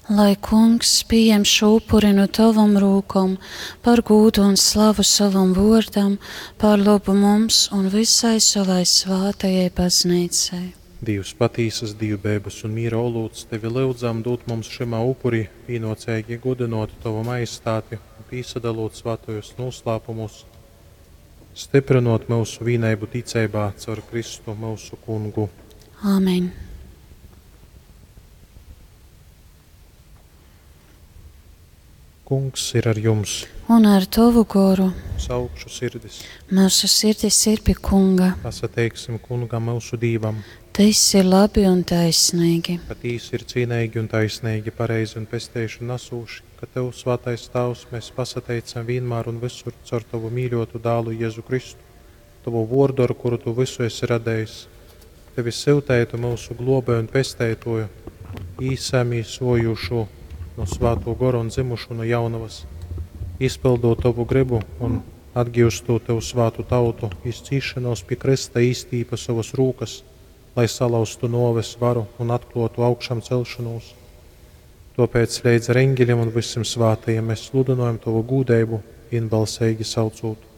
Lai Kungs pieņem šo upuri no tavam rūkom par gūdu un slavu savam vōrdam, par labu mums un visai savai svātajai baznīcai. Dīvs patīsas dīvbeibas un mīra olūts, Tevi lyudzam dūt mums šymā upurī pīnōceigi gudynōt Tovu Majestāti un pīsadalūt svātajūs nūslāpumūs, styprynōt myusu vīneibu ticeibā caur Kristu myusu Kungu. Āmen. Kungs ir ar jums. Un ar tovu goru. Uz augšu sirdis. Mūsu sirdis ir pie Kunga. Pasateiksim Kungam myusu Dīvam. Tas ir labi un taisnīgi. Patīsi ir cīneigi un taisnīgi, pareizi un pesteišanu nasūši, ka Tev, Svātais Tāvs, mēs pasateicam vienmēr un visur caur Tavu mīļotu dālu Jēzu Kristu, Tavu vordu, ar kuru Tu visu esi radējis. Tevi syutētu mūsu globēju un pesteitoju, īsamīsojušu no Svāto Goru un dzimušu no jaunavas, izpildot Tavu gribu un atgīstot Tev svātu tautu, izcīšanos pie Krista īstīpa savas rūkas, lai salauztu noves varu un atklotu augšām celšanos. Tāpēc leidz ar eņģeļiem un visiem svātajiem mēs sludinojam Tavu gūdeibu, vienbalsīgi saucot.